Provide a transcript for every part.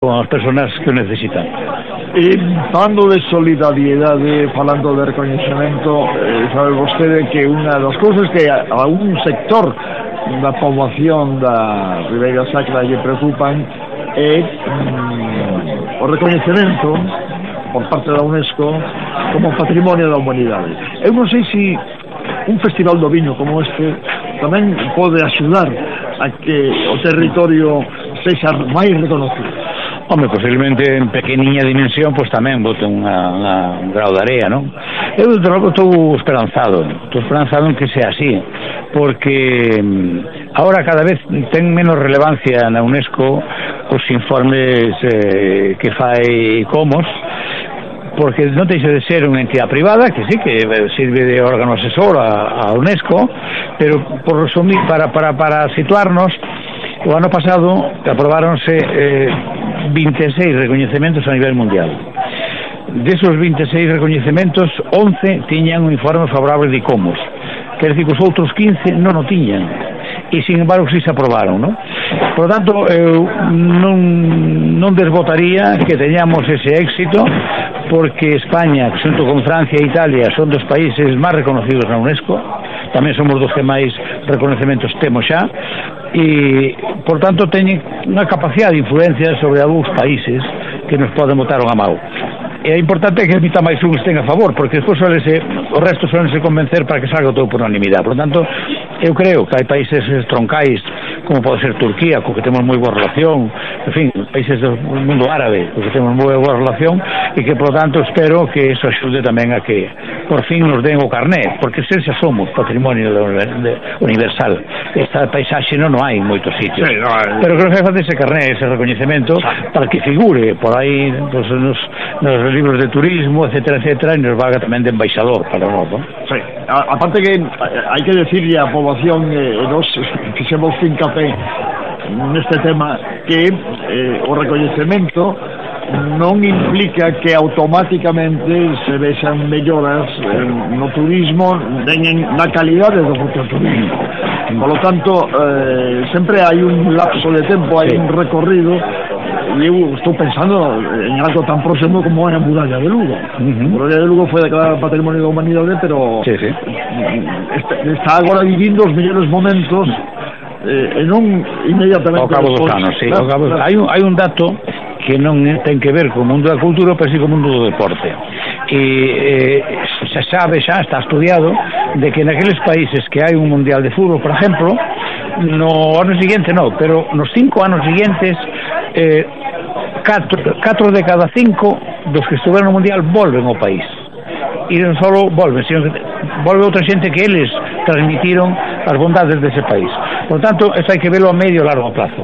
con as persoas que o necesitan. Falando de solidariedade, falando de recoñecemento, sabe vostede que unha das cousas que a un sector da poboación da Ribeira Sacra lle preocupan é o recoñecemento por parte da UNESCO como patrimonio da humanidade. Eu non sei se un festival do viño como este tamén pode axudar a que o territorio sexa máis reconocido. Home, posiblemente en pequeniña dimensión, pois tamén bote un grau de area, non? Eu estou esperanzado en que sea así, porque ahora cada vez ten menos relevancia na UNESCO os informes que fai Comos, porque non deixa de ser unha entidade privada que sí que sirve de órgano asesor a UNESCO, pero por resumir, para situarnos, o ano pasado aprobáronse 26 recoñecementos a nivel mundial. Desos 26 recoñecementos, 11 tiñan un informe favorable de ICOMOS, quer dizer que os outros 15 non o tiñan, e sin embargo si se aprobaron, non? Por lo tanto, eu non desbotaría que teñamos ese éxito, porque España, xunto con Francia e Italia, son dos países máis reconocidos na UNESCO, tamén somos dos que máis reconhecementos temos xa, e, por tanto, teñen unha capacidade de influencia sobre algúns países que nos poden botar unha mão. E é importante que a mitad máis un estén a favor, porque despois o resto suelense convencer para que salga todo por unanimidade. Por tanto, eu creo que hai países troncais, como pode ser Turquía, co que temos moi boa relación, en fin, países do mundo árabe, co que temos moi boa relación, e que, por tanto, espero que eso axude tamén a que, por fin, nos den o carné, porque se xa somos patrimonio universal. Esta paisaxe non hai en moitos sitios. Sí, no, pero creo que facer ese carné, ese recoñecemento, para que figure por aí pues, nos libros de turismo, etcétera, etcétera, e nos valga tamén de embaixador para nós, non? Sí, aparte que hai que decirle á poboación, nos fixemos fincapé neste tema, que o recoñecemento non implica que automáticamente se vexan melloras no turismo nen na calidade do propio turismo. Por lo tanto, sempre hai un lapso de tempo, hai un recorrido, e eu estou pensando en algo tan próximo como é a Muralla de Lugo. A Muralla de Lugo foi declarada Patrimonio da Humanidade, pero está agora vivindo os mellores momentos e non inmediatamente ao cabo dos anos, sí. Claro. Hai un dato que non ten que ver co mundo da cultura, pero sí co mundo do deporte. E se sabe xa, está estudiado, de que naqueles países que hai un mundial de fútbol, por exemplo, no ano seguinte non, pero nos 5 anos seguintes 4 de cada 5 dos que estuveron no mundial volven ao país. E non só volven, sino que volve outra xente que eles transmitiron as bondades dese país. Por tanto, eso hai que verlo a medio e largo plazo.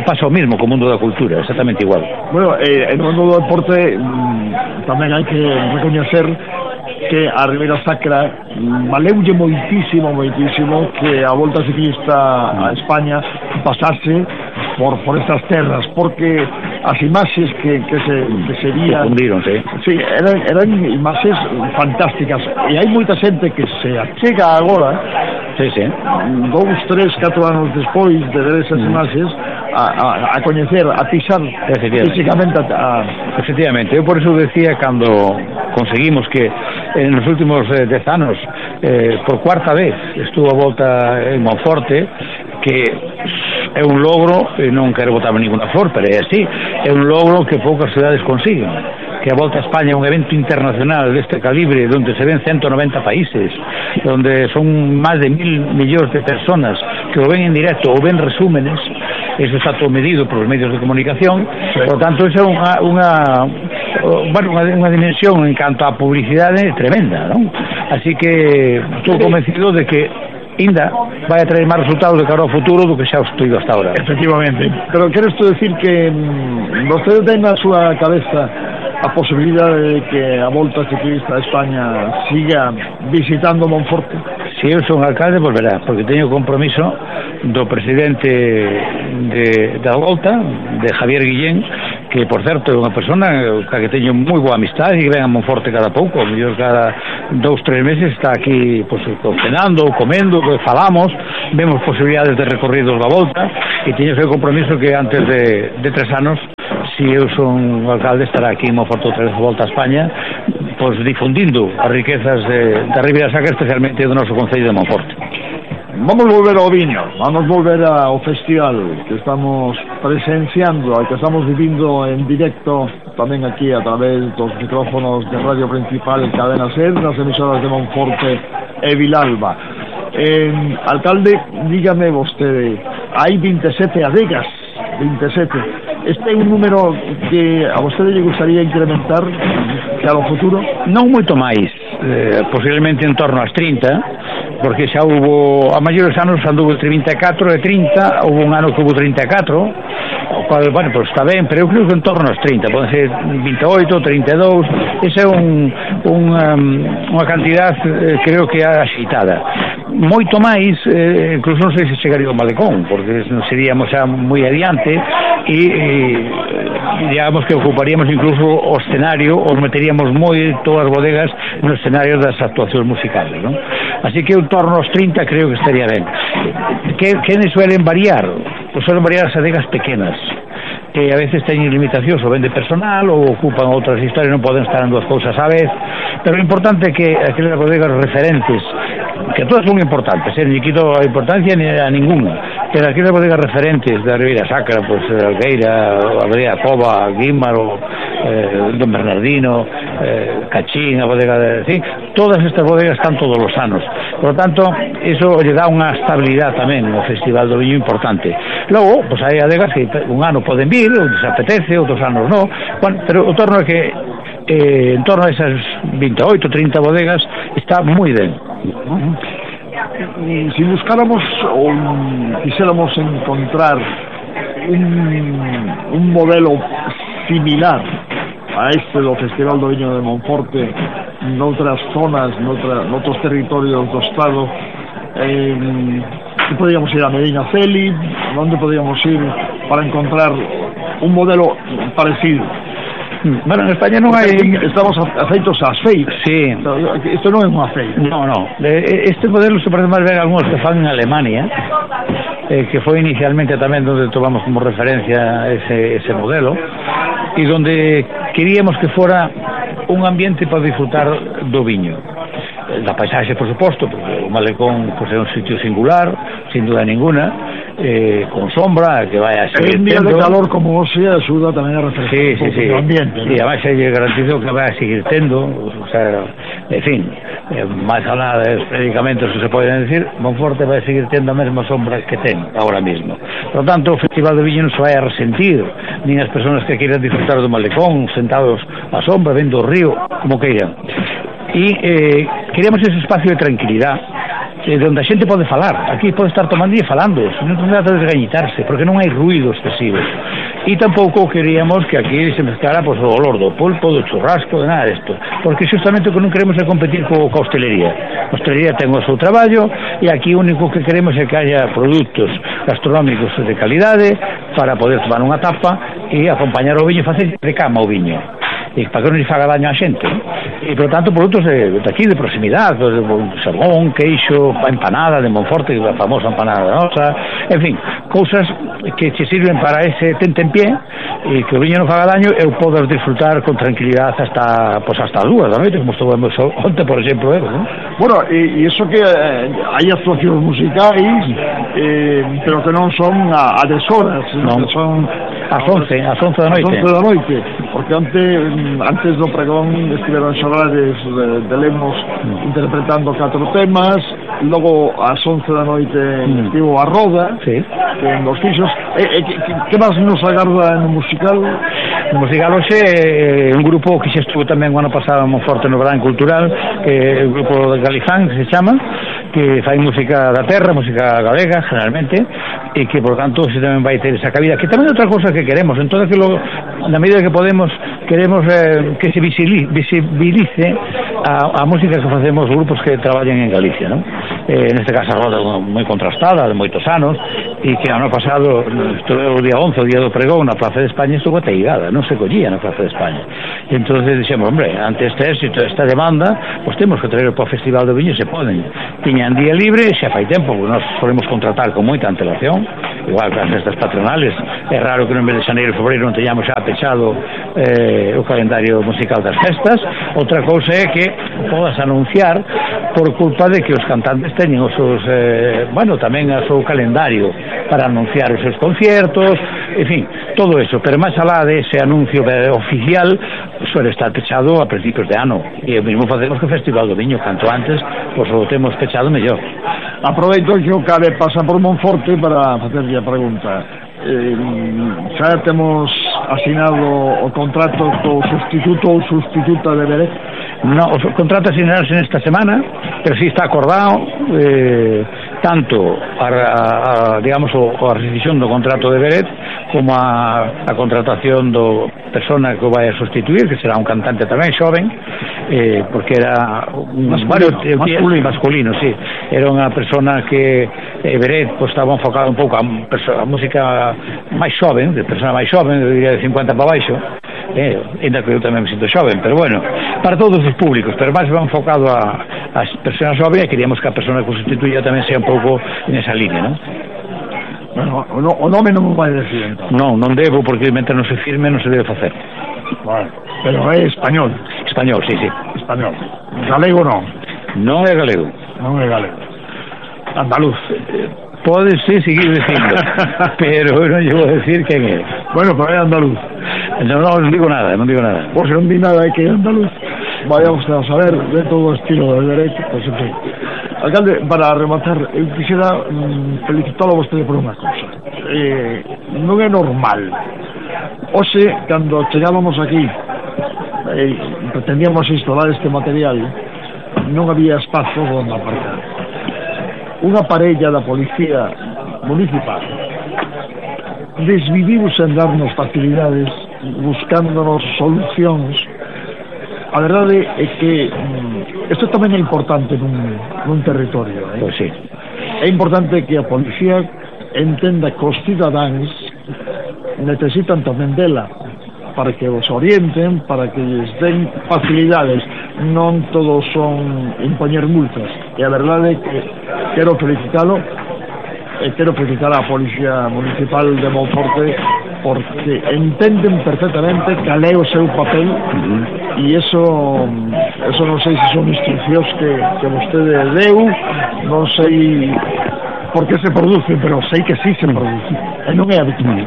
Pasa o mismo co mundo da cultura, exactamente igual. Bueno, en o mundo do deporte tamén hai que recoñecer que a Ribeira Sacra valeulle moitísimo que a Volta Ciclista a España pasase por estas terras, porque as imaxes que se vían sí, eran imaxes fantásticas, e hai moita xente que se achega agora 2, 3, 4 anos despois de ver esas imaxes a coñecer, a pisar físicamente efectivamente. Eu por eso decía, cando conseguimos que en os últimos 10 anos por cuarta vez estuvo a volta en Monforte, que é un logro, e non quero botar ninguna flor, pero é así, é un logro que poucas cidades consiguen, que a Volta a España é un evento internacional deste calibre, onde se ven 190 países, onde son máis de 1.000 millóns de personas que o ven en directo ou ven resúmenes. Eso está todo medido por os medios de comunicación. Por lo tanto, eso é unha dimensión en canto a publicidade tremenda, non? Así que estou convencido de que ainda vai a traer máis resultados de cara ao futuro do que xa os tido hasta ahora. Efectivamente. Pero queres tú decir que vostede ten na súa cabeza a posibilidade de que a Volta Ciclista a España siga visitando Monforte? Se eu son alcalde, volverá, porque teño compromiso do presidente da Volta, de Javier Guillén, que por certo é unha persona que teño moi boa amistade e que ven a Monforte cada pouco, a mellor cada 2-3 meses está aquí pues, cenando, comendo, falamos, vemos posibilidades de recorridos da volta e teño ese compromiso que antes de 3 anos, si eu son o alcalde, estará aquí en Monforte outra vez a volta a España, pues difundindo as riquezas da Ribeira Sacra, especialmente do noso Concello de Monforte. Vamos volver ao viño, vamos volver ao festival que estamos presenciando, ao que estamos vivindo en directo tamén aquí a través dos micrófonos de Radio Principal en Cadena Ser, nas emisoras de Monforte e Vilalba. Alcalde, dígame vostede, hai 27 adegas, 27. Este é un número que a vostede lle gustaría incrementar cara ao futuro? Non moito máis, posiblemente en torno ás 30, porque xa hubo, a maiores anos anduvo entre 24 e 30, hubo un ano que hubo 34, o cual, bueno, pues está ben, pero eu creo que en torno aos 30, poden ser 28, 32, esa é unha cantidad, creo que axeitada. Moito máis, incluso non sei se chegaría ao Malecón, porque seríamos xa moi adiante e digamos que ocuparíamos incluso o escenario, os meteríamos moito as bodegas no escenario das actuacións musicales, non? Así que en torno aos 30 creo que estaría ben. Que suelen variar? Pues suelen variar as adegas pequenas, que a veces teñen limitacións ou ben de personal ou ocupan outras historias, non poden estar en dúas cousas a vez, pero o importante é que aquelas bodegas referentes, que todas son importantes, non quito a importancia ni a ninguna, pero aquelas bodegas referentes da Ribeira Sacra, pues Algueira, Abadía Cova, Guímaro, Don Bernardino, Cachín, a bodega de... Sí, todas estas bodegas están todos os anos, por lo tanto, eso lle dá unha estabilidade tamén no Festival do Viño importante. Logo, pues hai adegas que un ano poden vir, outros apetece, outros anos non, bueno, pero o torno é que en torno a esas 28, 30 bodegas está moi ben. Si buscáramos ou quixéramos encontrar un modelo similar a este do Festival do Viño de Monforte noutras zonas, noutros territorios do Estado, que podríamos ir a Medina Celi, onde podríamos ir para encontrar un modelo parecido? Bueno, en España non hai... Estamos afeitos ás feiras. Sí. Isto non é unha feira. No. Este modelo se parece máis ben a algúns que fan en Alemania, que foi inicialmente tamén onde tomamos como referencia ese modelo, e donde queríamos que fora un ambiente para disfrutar do viño. Da paisaxe, por suposto, porque o Malecón pues, é un sitio singular, sin duda ninguna, con sombra, que vai a seguir tendo. Un día de calor como hoxe axuda tamén a refrescar o ambiente. Sí, además lle garantizo que vai a seguir tendo, o sea, en fin, máis alá dos predicamentos que se poden decir, Monforte vai a seguir tendo a mesma sombra que ten agora mesmo. Por lo tanto, o Festival do Viño non se vai a resentir, nin as persoas que queiran disfrutar do Malecón, sentados á sombra, vendo o río, como queiran. E queríamos ese espacio de tranquilidade onde a xente pode falar, aquí pode estar tomando e falando, non trata de desgañitarse, porque non hai ruido excesivo. E tampouco queríamos que aquí se mezclara pues, o olor do pulpo, do churrasco, de nada disto, porque justamente o que non queremos é competir coa hostelería. A hostelería ten o seu traballo e aquí o único que queremos é que haya produtos gastronómicos de calidade para poder tomar unha tapa e acompañar o viño e facer de cama o viño. E para que non lle faga daño a xente, ¿no? E, por tanto, produtos de aquí, de proximidade, xarbón, queixo, empanada de Monforte, a famosa empanada da nosa, en fin, cousas que che sirven para ese tentempié e que o viño non faga daño e o podas disfrutar con tranquilidade hasta as 2 da noite, como estuvemos onte, por exemplo, ¿no? Bueno, e iso que hai actuacións musicais, pero que non son a deshoras, non son ás 11 da noite. Ás 11 da noite, porque antes do pregón estiveron Xorrades de Lemos interpretando 4 temas, logo ás 11 da noite estivo a Roda, sí, con os fixos. Que máis nos agarda no musical? No musical hoxe un grupo que xa estuvo tamén o ano pasado moi forte no Verán Cultural, que é o grupo de Galifán, que se chama, que fai música da terra, música galega, generalmente, e que, por tanto, se tamén vai ter esa cabida, que tamén é outra cosa que queremos, en todo aquilo, na medida que podemos, queremos que se visibilice a música que facemos grupos que traballan en Galicia, non? neste caso a roda moi contrastada, de moitos anos, e que ano pasado, o día 11, o día do pregón, na Plaza de España estuvo ateigada, non se collía na Plaza de España. E entón dixemos, hombre, ante este éxito, esta demanda, pois temos que traer para o Festival do Viño, se poden. Tiñan día libre, xa fai tempo, porque nós solemos contratar con moita antelación, igual que as festas patronales, é raro que no mes de xaneiro e febreiro non teñamos xa pechado o calendario musical das festas. Outra cousa é que podas anunciar por culpa de que os cantantes teñen os seus, tamén o seu calendario para anunciar os seus conciertos, en fin, todo eso, pero máis alá de ese anuncio oficial suele estar pechado a principios de ano, e o mesmo facemos que o Festival do Viño, canto antes pois o temos pechado mellor. Aproveito que o Cabe pasa por Monforte para facerlle a pregunta. Xa temos asinado o contrato co sustituto ou sustituta de Beret? No, o contrato asinarase nesta semana, pero sí está acordado tanto digamos a rescisión do contrato de Beret como a contratación do persona que o vai a sustituir, que será un cantante tamén xoven, porque era masculino, sí. Era unha persona que Beret pues, estaba enfocado un pouco a música máis xoven, de persona máis xoven, eu diría de 50 para baixo, ainda que eu tamén me sinto xoven, pero bueno, para todos os públicos, pero máis va enfocado a persoas xoven, e queríamos que a persona que o sustituía tamén sea un pouco nesa línea, non? Bueno, o nome non me vai decir, entón. Non debo, porque mentre non se firme non se debe facer. Vale, pero é español. Español, sí. Español. Galego non. Non é galego. Non é galego. Andaluz. Podes seguir dicindo, pero eu non lle vou decir quen é. Bueno, pero é andaluz. Non digo nada. Pois non di nada, é que é andaluz. Vaya usted a saber de todo o estilo de derecho, pois en fin. Alcalde, para rematar, eu quixera felicitalo a vostede por unha cousa. Non é normal. Hoxe, cando chegábamos aquí, pretendíamos instalar este material, non había espazo onde aparcar. Unha parella da policía municipal desviviuse en darnos facilidades, buscándonos solucións. A verdade é que isto tamén é importante nun territorio, Pois sí. É importante que a policía entenda que os cidadáns necesitan tamén dela para que os orienten, para que lles den facilidades, non todos son impoñer multas. E a verdade é que quero felicitalo e quero felicitar a Policía Municipal de Monforte porque entenden perfectamente cal é o seu papel e eso non sei se son instruccións que vostede deu, non sei por que se produce, pero sei que sí se produce e non é habitual.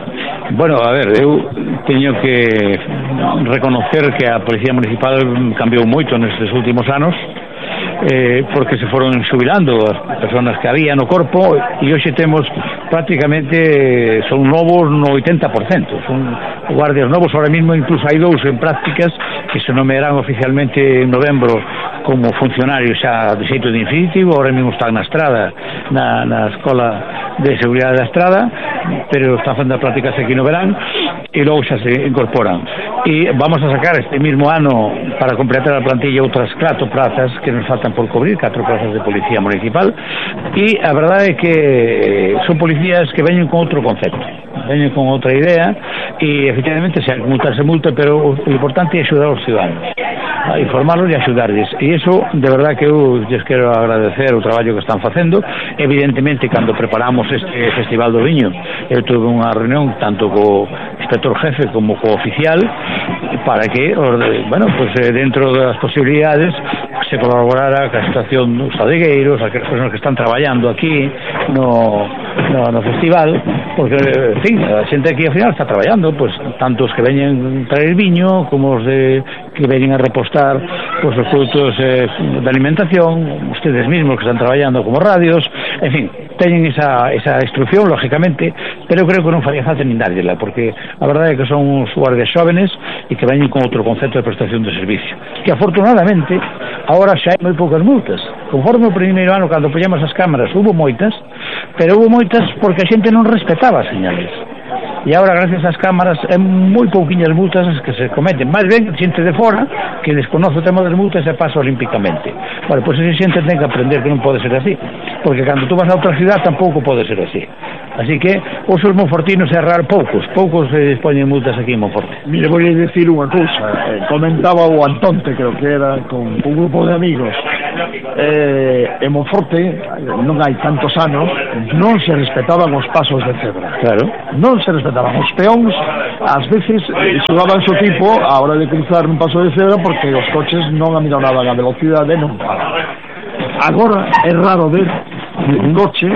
Bueno, a ver, eu teño que reconocer que a Policía Municipal cambiou moito nestes últimos anos, porque se foron xubilando as personas que había no corpo e hoxe temos prácticamente son novos no 80%, son guardias novos. Ahora mismo incluso hai dous en prácticas que se nomearán oficialmente en novembro como funcionarios xa de xeito definitivo. Ahora mesmo están na estrada, na Escola de Seguridade da Estrada, pero están facendo prácticas aquí no verán e logo xa se incorporan. E vamos a sacar este mismo ano para completar a plantilla outras 4 plazas que nos faltan por cubrir, 4 plazas de Policía Municipal, e a verdade é que son policías que veñen con outro concepto, veñen con outra idea, e efectivamente se multa, pero o importante é axudar aos ciudadanos, a informarlos e axudarles, e iso de verdade que eu lles quero agradecer o traballo que están facendo. Evidentemente, cando preparamos este Festival do Viño, eu tuve unha reunión tanto co inspector jefe como co oficial para que, dentro das posibilidades, se colaborara ca situación dos adegueiros, aquelas persoas que están traballando aquí no festival, porque, en fin, a xente aquí ao final está traballando, pues, tanto os que veñen traer viño como os que veñen a repostar pues, os produtos de alimentación, ustedes mismos que están traballando como radios, en fin, teñen esa instrucción, lógicamente, pero creo que non faría falta nin darllela, porque a verdade é que son uns guardias xóvenes e que veñen con outro concepto de prestación de servicio, que afortunadamente agora xa hai moi poucas multas. Conforme o primeiro ano, cando poñemos as cámaras, hubo moitas, pero hubo moitas porque a xente non respetaba as señales. e agora gracias ás cámaras é moi pouquiñas multas as que se cometen, máis ben xente de fora que desconoce o tema das multas e pasa olímpicamente. Bueno, pois esa xente ten que aprender que non pode ser así, porque cando tú vas a outra cidade tampouco pode ser así. Así que os monfortinos é raro, poucos se dispoñen multas aquí en Monforte. Mire, vou dicir unha cousa, comentaba o Antonte, creo que era, con un grupo de amigos, en Monforte non hai tantos anos, non se respetaban os pasos de cebra. Claro. Non se respetaban os peóns, ás veces xugaban o tipo a hora de cruzar un paso de cebra porque os coches non aminoraban a velocidade, non paraban. Agora é raro ver un coche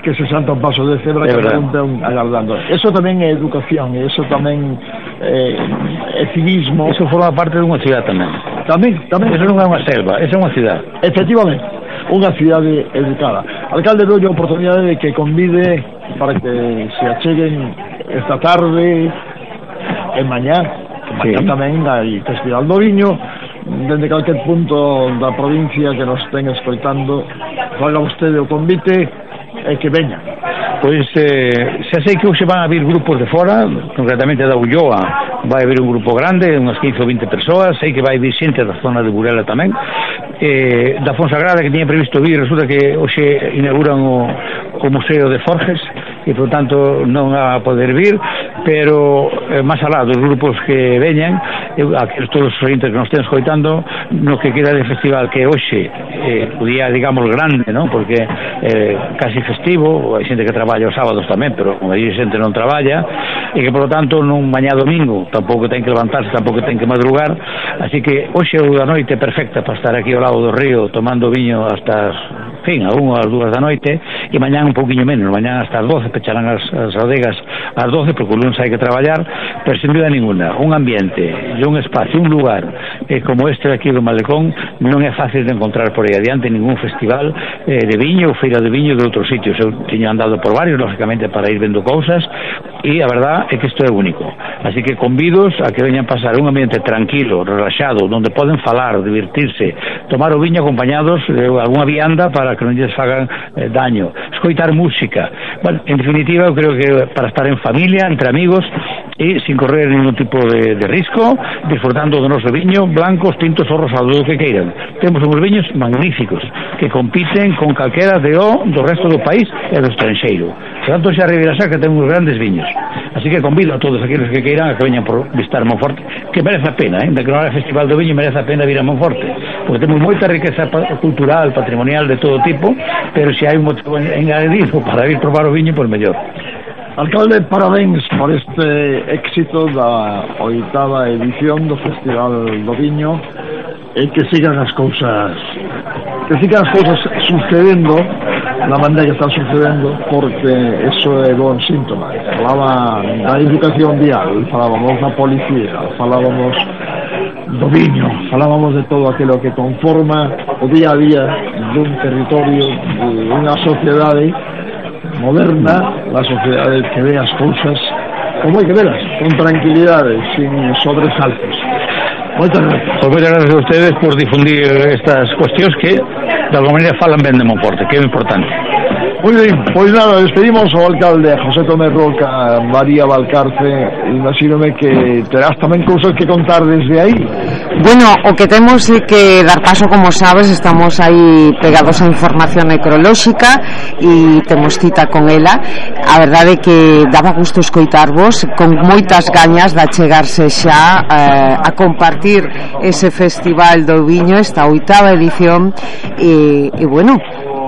que se salta un paso de cebra que non agardando. Eso tamén é educación, e eso tamén é civismo. Eso forma parte de unha cidade tamén. Tamén. Eso non é unha selva, eso é unha cidade. Efectivamente, unha cidade educada. Alcalde, dou a oportunidade de que convide para que se acheguen esta tarde e mañá. Mañá tamén hai Festival do Viño, dende calquer punto da provincia que nos ten escoitando, faga vostede o convite e que veña. Pois xa sei que hoxe van a vir grupos de fora, concretamente da Ulloa vai haber un grupo grande, unhas 15 ou 20 persoas, sei que vai vir xente da zona de Burela tamén, da Fonsagrada que tiña previsto vir, resulta que hoxe inauguran o Museo de Forges e por tanto non va a poder vir, pero máis alá dos grupos que veñan, aqueles todos os oyentes que nos estén escoitando, no que queda de festival que hoxe o día, digamos, grande, non? Porque casi festivo, hai xente que traballa os sábados tamén, pero como aí xente non traballa, e que por lo tanto non mañá domingo tampouco ten que levantarse, tampouco ten que madrugar, así que hoxe a noite é perfecta para estar aquí ao lado do río tomando viño hasta a 1 ou as 2 da noite, e mañá un pouquiño menos, mañá hasta as 12 pecharán as adegas ás 12 porque o lunes hai que traballar, pero sin dúda ninguna un ambiente e un espacio, un lugar como este de aquí do Malecón non é fácil de encontrar por aí adiante ningún festival de viño ou feira de viño de outros sitios. Eu teño andado por varios, lógicamente, para ir vendo cousas, e a verdad é que isto é único, así que convidos a que veñan pasar un ambiente tranquilo, relaxado, onde poden falar, divertirse, tomar o viño acompañados de algunha vianda para que non lles fagan daño, escoitar música. Bueno, en definitiva, eu creo que para estar en familia, entre amigos e sin correr ningún tipo de risco, disfrutando do noso viño, blancos, tintos ou rosados, o que queiran. Temos uns viños magníficos que compiten con calquera do resto do país e do estranxeiro. Por tanto, xa Ribeira Sacra ten uns grandes viños. Así que convido a todos aqueles que queiran a que veñan por visitar Monforte, que merece a pena, de que non hai Festival do Viño merece a pena vir a Monforte, porque temos moita riqueza cultural, patrimonial de todo tipo, pero se hai un motivo engadido para ir probar o viño, pois mellor. Alcalde, parabéns por este éxito da 8ª edición do Festival do Viño, e que sigan as cousas sucedendo na maneira que están sucedendo, porque eso é bon síntoma. Falaba da educación vial, falábamos da policía, falábamos do viño, falábamos de todo aquilo que conforma o día a día dun territorio, de unha sociedade moderna, la sociedade que ve as cousas como hai que velas, con tranquilidade, sin sobresaltos. Moitas gracias. Pues moitas gracias a ustedes por difundir estas cuestións que de alguma maneira falan ben de Monforte, que é importante. Moi ben, pois nada, despedimos ao alcalde José Tomé Roca, María Valcarce, imagínome que terás tamén cousas que contar desde aí. Bueno, o que temos é que dar paso, como sabes, estamos aí pegados a información necrolóxica e temos cita con ela. A verdade é que daba gusto escoitarvos con moitas gañas de achegarse xa a compartir ese Festival do Viño, esta 8ª edición, e bueno,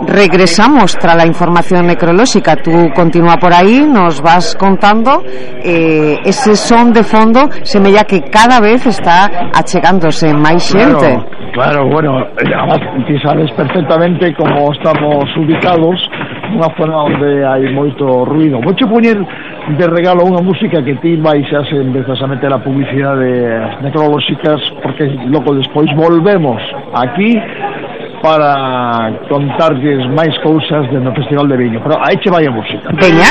regresamos tras la información necrolóxica. Tú continúa por aí, nos vas contando. Ese son de fondo semella que cada vez está achegándose máis xente. Claro, bueno, ti sabes perfectamente como estamos ubicados, unha zona onde hai moito ruido. Vou che poñer de regalo unha música que ti vais a ser precisamente a publicidade necrolóxicas, porque logo despois volvemos aquí para contarlles máis cousas do Festival de Viño. Pero aí che vai a música. Veña.